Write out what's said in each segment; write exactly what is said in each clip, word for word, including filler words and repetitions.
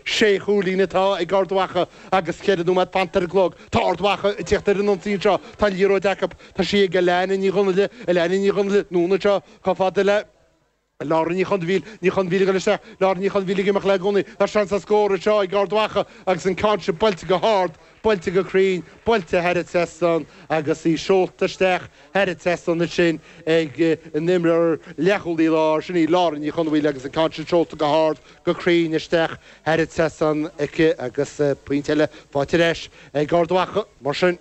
Sé chúilín atá ag Ard Mhacha agus ceithre nóiméad fanta ar an gclog. Tá Ard Mhacha ag teacht ar an ionsaí anseo. Tá an liathróid acu. Tá sí ag Alana Ní Dhonnaile, Alana Ní Dhonnaile, anonn anseo chomh fada le Lára Ní Chonbhíl, Ní Chonbhíl ag dul isteach, Lára Ní Chonbhíl ag imeacht léi i gcónaí. Tá seans ar scór anseo ag Ard Mhacha agus an ceann sin buailte go hard, buailte go cruinn, buailte thar an trasnán agus í seolta isteach thar an trasnán ansin ag an imreoir leathchúlaí láir, sin í Lára Ní Chonbhíl agus an ceann sin seolta go hard, go cruinn isteach thar an trasnán aici agus pointe eile faighte ar ais ag Ard Mhacha. Mar sin,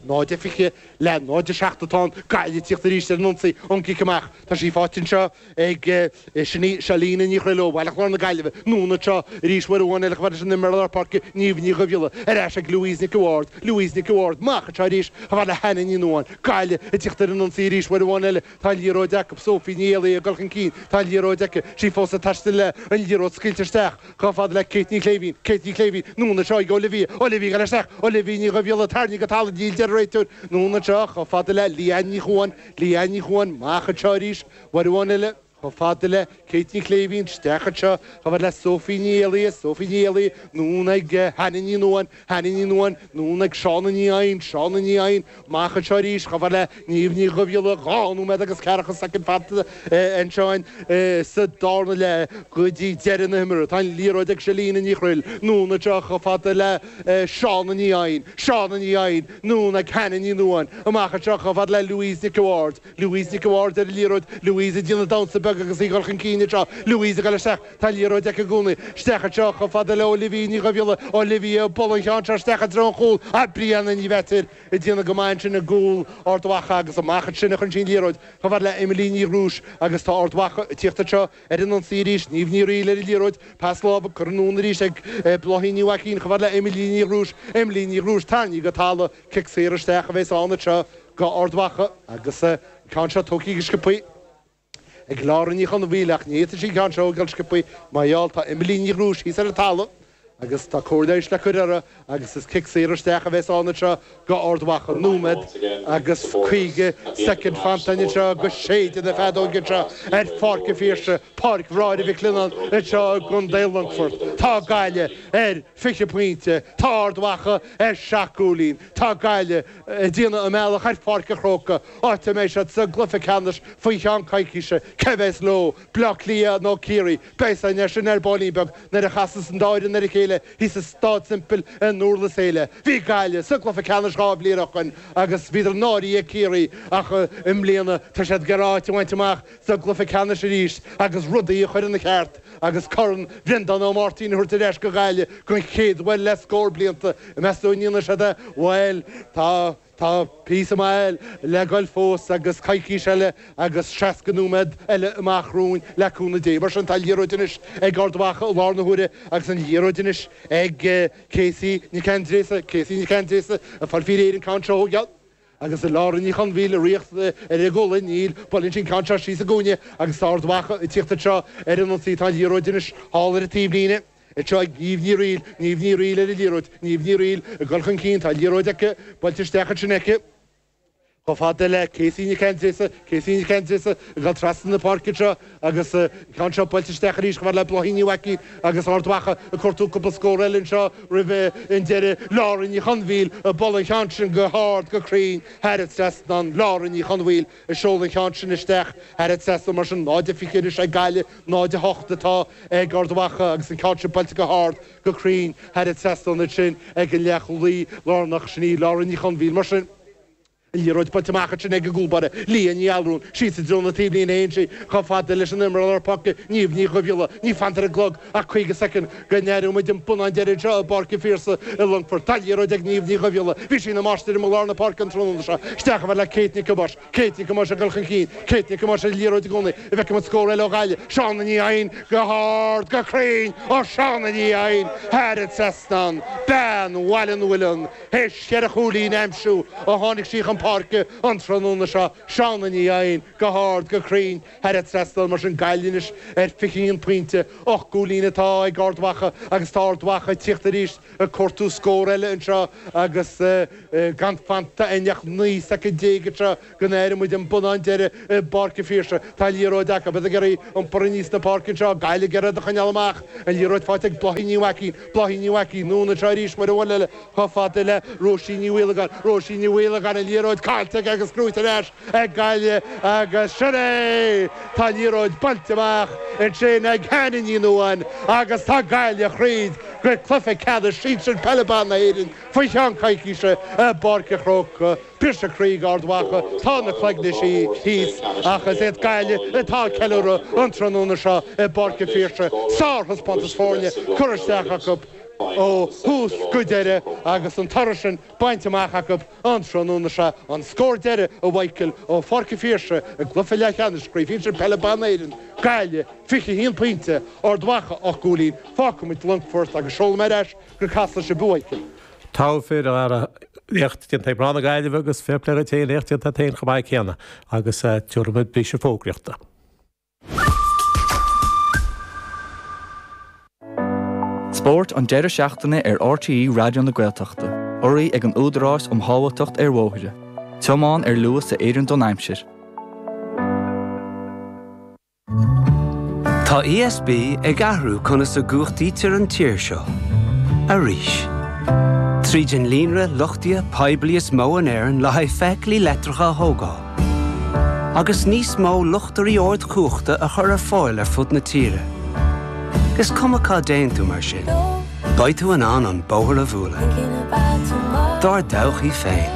náid a fiche le náid a seacht atá ann, Gaillimh ag tíocht arís ar an ionsaí ón gcic amach. Tá sí faighte anseo ag, sin í Selina Ní Chroill ó Bhaile Chláir na Gaillimhe. Anonn anseo arís uair amháin eile chomh fada leis an imreoir lár páirce Niamh Ní Dhubhghiolla. Ar ais ag Louise Nic a' Bhaird. Louise Nic a' Bhaird amach anseo arís chomh fada le Hannah Ní Nuadháin. Gaillimh ag tíocht ar an ionsaí arís uair amháin eile. Tá an liathróid acu. Sophie Ní Éalaí ag dul chun cinn. Tá an liathróid aici. Sí fós ag taisteal léi. An liathróid scaoilte isteach chomh fada le Kate Ní Chléibhín. Kate Ní Chléibhín. Anonn anseo ag Olivia. Olivia ag dul isteach. Olivia Ní Dhubhghiolla tarraingthe go talamh. Níl, deir an réiteoir. Anonn anseo chomh fada le Leanne Ní Chuan. Leanne Ní Chuan amach anseo arís uair amháin eile chomh fada le Kate Ní Chléibhín. Isteach anseo chomh fada le Sophie Ní Éalaí. Sophie Ní Éalaí. Anonn ag Hannah Ní Nuadháin. Hannah Ní Nuadháin. Anonn ag Shauna Ní Eidhin. Shauna Ní Eidhin. Amach anseo arís chomh fada le Niamh Ní Dhubhghiolla. Dhá nóiméad agus ceathracha soicind fanta anseo sa darna leath go dtí deireadh na himeartha. Tá an liathróid ag Selina Ní Chroill. Anonn anseo chomh fada le Shauna Ní Eidhin. Shauna Ní Eidhin. Anonn ag Hannah Ní Nuadháin. Amach anseo chomh fada le Louise Nic a' Bhaird. Louise Nic a' Bhaird ar an liathróid. Louise ag déanamh damhsa beag agus í ag dul chun cinn anseo. Louise ag dul isteach. Tá an liathróid aici i gcónaí. Isteach anseo chomh fada le Olivia Ní Dhubhghiolla. Olivia ag bualadh an cheann seo isteach i dtreo an chúil. Ah, Brianna Ní Mheachair ag déanamh go maith ansin i gcúl Ard Mhacha agus amach ansin a chuireann sí an liathróid chomh fada le Emily Ní Ghrúis agus tá Ard Mhacha ag tíocht anseo ar an ionsaí arís. Niamh Ní Fhrighil ar an liathróid. Pas láimhe curtha anonn arís ag Bláithín Ní Mhaicín chomh fada le Emily Ní Ghrúis. Emily Ní Ghrúis tarraingthe go talamh. Cic saor isteach a bheas ann anseo go Ard Mhacha agus an ceann seo tógtha go sciobthaí ag Lára Ní Chonmhaoil ach ní fhéadfaidh sí an ceann seo a thógáil sciobthaí mar gheall tá Emily Ní Ghrúis thíos ar an talamh agus tá cóir leighis le cur uirthi agus is cic saor isteach a bheas ann anseo go Ard Mhacha. Nóiméad agus caoga soicind fanta anseo go séideadh na feadóige anseo ar Pháirc an Phiarsaigh, Páirc Bhráithre Mhic Lionnáin anseo i gContae Longfoirt. Tá Gaillimh ar fiche pointe, tá Ard Mhacha ar seacht gcúilín. Tá Gaillimh ag déanamh a mbealach ar Pháirc an Chrócaigh, áit a mbeidh siad sa gcluiche ceannais faoi cheann coicíse. Cé bheas leo, Bleá Cliath nó Ciarraí? Beidh a fhios againn sin ar baillín beag nuair a chasas an dá fhoireann ar a chéile thíos i Staid Semple i nDurlas Éile. Bhí Gaillimh sa gcluiche ceannais dhá bhliain ó shoin agus bhíodar náirithe ag Ciarraí ach i mbliana tá siad ag iarraidh áit a bhaint amach sa gcluiche ceannais arís agus rudaí a chur ina cheart agus Corn Bhreandán Ó Máirtín a thabhairt ar ais go Gaillimh den chéad uair le scór blianta. An meas tú an ndéanfaidh siad é? Bhuel, tá, tá píosa maith le goil fós agus coicís eile agus seasca nóiméad eile amach romhainn le cúnamh Dé. Mar sin, tá an liathróid anois ag Ard Mhacha i láthair na huaire agus an liathróid anois ag Casey Nic Aindréasa, Casey Nic Aindréasa ag fáil faoi réir an ceann seo a thógáil. Agus Lára Ní Chonmhaoil ag ritheacht ar a gualainn, níl, buaileann sí an ceann seo síos i gcúinne agus tá Ard Mhacha ag tíocht anseo ar an ionsaí. Tá an liathróid anois thall ar an taobhlíne anseo ag Niamh Ní Fhrighil, Niamh Ní Fhrighil ar an liathróid, Niamh Ní Fhrighil ag dul chun cinn, tá an liathróid aici, buailte isteach ansin aici. Chomh fada le Casey Nic Aindréasa, Casey Nic Aindréasa ag dul trasna na páirce anseo agus an ceann seo buailte isteach arís chomh fada le Bláithín Ní Mhaicín agus Ard Mhacha ag cuartú cúpla scór eile anseo roimh an deireadh. Lára Ní Chonmhaoil ag bualadh an cheann sin go hard go cruinn thar an trasnán. Lára Ní Chonmhaoil ag seoladh an cheann sin isteach thar an trasnán mar sin náid a fiche anois ag Gaillimh, náid a hocht atá ag Ard Mhacha agus an ceann sin buailte go hard go cruinn thar an trasnán ansin ag an leathchúlaí lárnach sin í Lára Ní Chonmhaoil mar sin. An liathróid buailte amach ansin ag an gcúlbáire, Leah Ní Allrúin, síos i dtreo na taobhlíne a théann sí chomh fada leis an imreoir lár páirce, Niamh Ní Dhubhghiolla. Níl fanta ar an gclog ach caoga soicind go n-aireoidh muid an bonnán deiridh anseo i bPáirc an Phiarsaigh i Longfort. Tá an liathróid ag Niamh Ní Dhubhghiolla. Bhí sí ina máistir i lár na páirce an tráthnóna seo. Isteach chomh fada le Kate Nic Thomáis. Kate Nic Thomáis ag dul chun cinn. Kate Nic Thomáis ar an liathróid i gcónaí. An bhfeicfidh muid scór eile ó Ghaillimh. Shauna Ní Eidhin go hard, go cruinn ó Shauna Ní Eidhin thar an trasnán. Bean Bhaile na bhFuileann. Théis cheithre chúilín a aimsiú ó tháinig sí chun chun páirce an tráthnóna seo, Shauna Ní Eidhin, go hard, go cruinn, thar an trasnán, mar sin Gaillimh anois ar fiche haon pointe, ocht gcúilín atá ag Ard Mhacha agus tá Ard Mhacha ag tíocht arís ag cuartú scór eile anseo agus gan fanta againn ach naoi soicind déag anseo go n-airfidh muid an bonnán deiridh i bPáirc an Phiarsaigh. Tá an liathróid acu, iad ag iarraidh iompar aníos na páirce anseo, Gaillimh ag iarraidh iad a choinneáil amach, an liathróid faighte ag Bláithín Ní Mhaicín, Bláithín Ní Mhaicín, anonn anseo arís uair amháin eile chomh fada le Róisín Ní Mhaolagáin, Róisín Ní Mhaolagáin, an liathróid caillte aici agus gnóite ar ais ag Gaillimh agus sin é! Tá an liathróid bainte amach ansin ag Hannah Ní Nuadháin agus tá Gaillimh thríd go cluiche ceannais sinsir peile ban na hÉireann faoi cheann coicíse i bPáirc an Chrócaigh. Briseadh croí d'Ard Mhacha, tá na cloigne thíos ach is iad Gaillimh atá ag ceiliúradh an tráthnóna seo i bPáirc an Phiarsaigh. Sárthaispeántas foirne curtha isteach acu ó thús go deireadh agus an toradh sin bainte amach acu an tráthnóna seo. An scór deiridh, a Mhichael, ó Pháirc an Phiarsaigh i gcluiche leathcheannais Chraobh Shinsir Peile Ban na hÉireann, Gaillimh, fiche a haon pointe, Ard Mhacha, ocht gcúilín. Fágfaidh muid Longfort agus seolfaidh mé ar ais go Casla sibh, a Mhichael. Togha fir, a Dhara. Éacht déanta ag mná na Gaillimhe agus fair play duit féin, éacht déanta agat féin chomh maith céanna agus tabharfaidh muid briseadh fógraíochta. Spórt an deireadh seachtaine ar R T E Raidió na Gaeltachta, urraithe ag an Údarás um Shábháilteacht ar Bhóithre. Tiomáin ar luas a oireann don aimsir. Tá E S B ag athrú conas a gcumhachtaítear an tír seo. Arís. Tríd an líonra luchtaithe poiblí is mó in Éirinn le haghaidh feithiclí leictreacha a thógáil. Agus níos mó luchtairí ardchumhachta a chur ar fáil ar fud na tíre. Is cuma cá dtéann tú mar sin. Beidh tú in ann an bóthar a bhualadh. Dár dtodhchaí féin.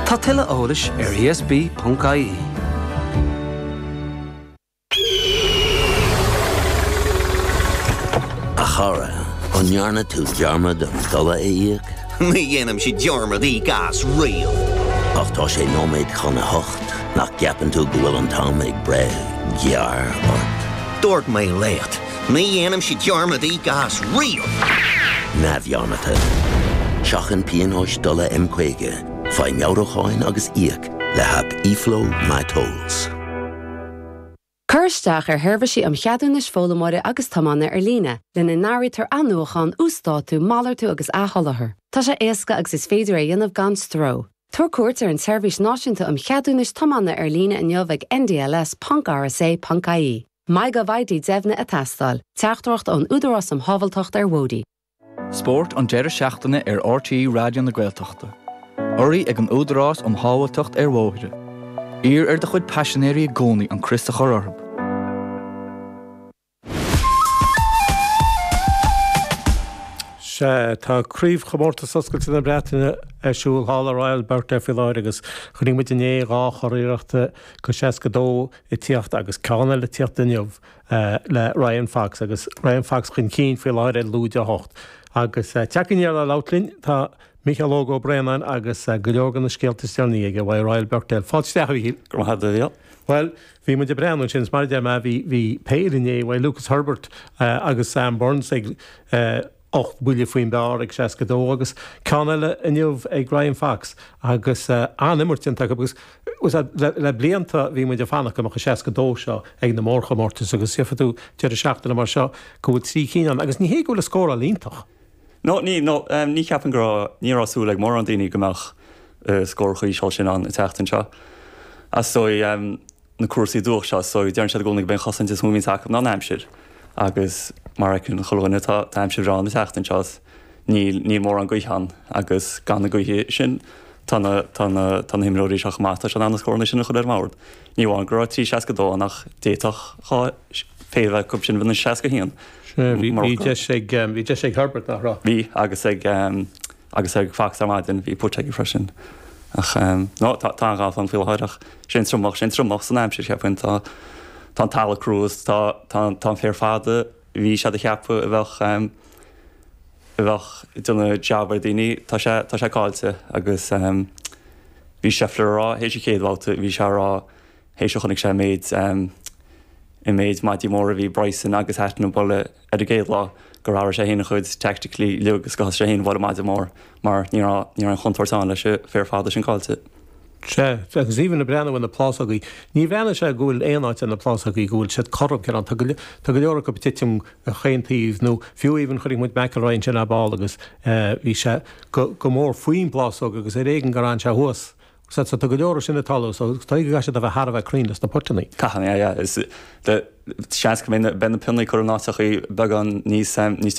Tá tuilleadh eolais ar E S B ponc I E. A chara, an ndearna tú dearmad an dola a íoc? Ní dhéanaimse dearmad íoc as riamh. Ach tá sé nóiméad chun a hocht, nach gceapann tú go bhfuil an t-am ag breith gearr ort? Dúirt mé leat, ní dhéanaimse dearmad íoc as riamh. Neamhdhearmadta. Seachain pionóis dola M caoga, faigh meabhrúcháin agus íoc le haip eFlow MyTolls. Cuir isteach ar sheirbhísí um cheadúnais foghlaimeora agus tiomána ar líne, lena n-áirítear athnuachan, uasdátú, malartú agus athsholáthar. Tá sé éasca agus is féidir é a dhéanamh gan stró. Tabhair cuairt ar an tSeirbhís Náisiúnta um Cheadúnais Tiomána ar líne inniu ag N D L S ponc R S A ponc I E. MyGovID deimhnithe ag teastáil, teachtaireacht ón Údarás um Shábháilteacht ar Bhóithre. Spórt an deireadh seachtaine ar R T E Raidió na Gaeltachta. Urraithe ag an Údarás um Shábháilteacht ar Bhóithre. Iarr ar do chuid paisinéirí i gcónaí an crios a chur orthu. Sea, tá craobhchomórtas oscailte na Breataine ar siúl thall i Royal Birkdale faoi láthair agus chonaic muid inné dhá churiarracht go seasca dó ag tíocht agus ceann eile ag tíocht inniu le Ryan Fox agus Ryan Fox chun cinn faoi láthair ar lúide a hocht. Agus teach aniar le labhairt linn tá Mícheál Óg Ó Braonáin agus go leor de na scéalta is deireanaí aige uaidh Royal Birkdale. Fáilte isteach, a Mhíchíl. Go raibh maith agat. Bhuel, bhí muid ag breathnú ansin, is mar a deir mé, bhí bhí péire inné uaidh Lucas Herbert agus Sam Burns ag ocht mbuille faoin bpar ag seasca dó agus ceann eile inniu ag Ryan Fox agus an-imirt déanta acu agus le, le blianta bhí muid ag fanacht go mbeadh an seasca dó seo ag na mórchomórtais agus gheobhaidh tú deireadh seachtaine mar seo go bhfuil trí cinn ann agus ní hé go bhfuil a scóráil iontach. No, ní, no, um, ní cheapaim go raibh, ní raibh súil ag mórán daoine go mbeadh uh, scór chomh híseal sin ann an tseachtain seo. Is dóigh um, na cúrsaí dubhach seo, so deireann siad i gcónaí go mbíonn chosaint is mó acu ná an aimsir. Agus mar a fheiceann chuile dhuine tá tá aimsir bhreá an tseachtain seo níl níl mórán gaoithe ann agus gan na gaoithe sin tá na tá na tá na himreoirí seo chomh maith tá siad in ann na scóranna sin a chur ar an mbord. Ní amháin go raibh trí seasca dó ann ach d'fhéadfadh dhá péire acu sin bheith seasca haon. Bhí bhí deis ag bhí deis ag Herbert nach raibh. Bhí agus ag um, agus ag Fox ar maidin bhí putt aige freisin. Ach um, no, tá tá an galf an faoi láthair ach sin tromach sin tromach san aimsir cheapfainn tá tá an talamh crua tá tá tá an féar fada bhí siad a cheapadh a bheadh um, a bheadh déanamh jab ar daoine tá sé tá sé caillte agus um, bhí Scheffler ag rá théis an chéad bhabhta bhí sé ag rá théis a chonaic sé méid um, an méid maidí móra a bhí Bryson agus Hatton ag bualadh ar an gcéad lá gur athraigh sé féin a chuid tactically uilig agus gur thosaigh sé féin ag bualadh maide mór mar ní raibh ní raibh an chontúirt ann leis an féar fada sin caillte. Sea, agus even ag breathnú ar na plásógaí, ní bhreathnaíonn sé go bhfuil aon áit ar na plásógaí go bhfuil siad cothrom cineál, tá go tá go leor acu ag titim chaon taobh nó fiú even chonaic muid McIlroy ansin ar ball agus bhí sé go go mór faoin bplásóg agus ar éigean gur fhan sé thuas. So tá go leor sin ag tarlú so tá go gcaithfidh siad a bheith thar a bheith cruinn leis na potannaí. Caithfidh, yeah, yeah. Is seans go mbeidh na pionnaí curtha in áiteachaí beagán níos níos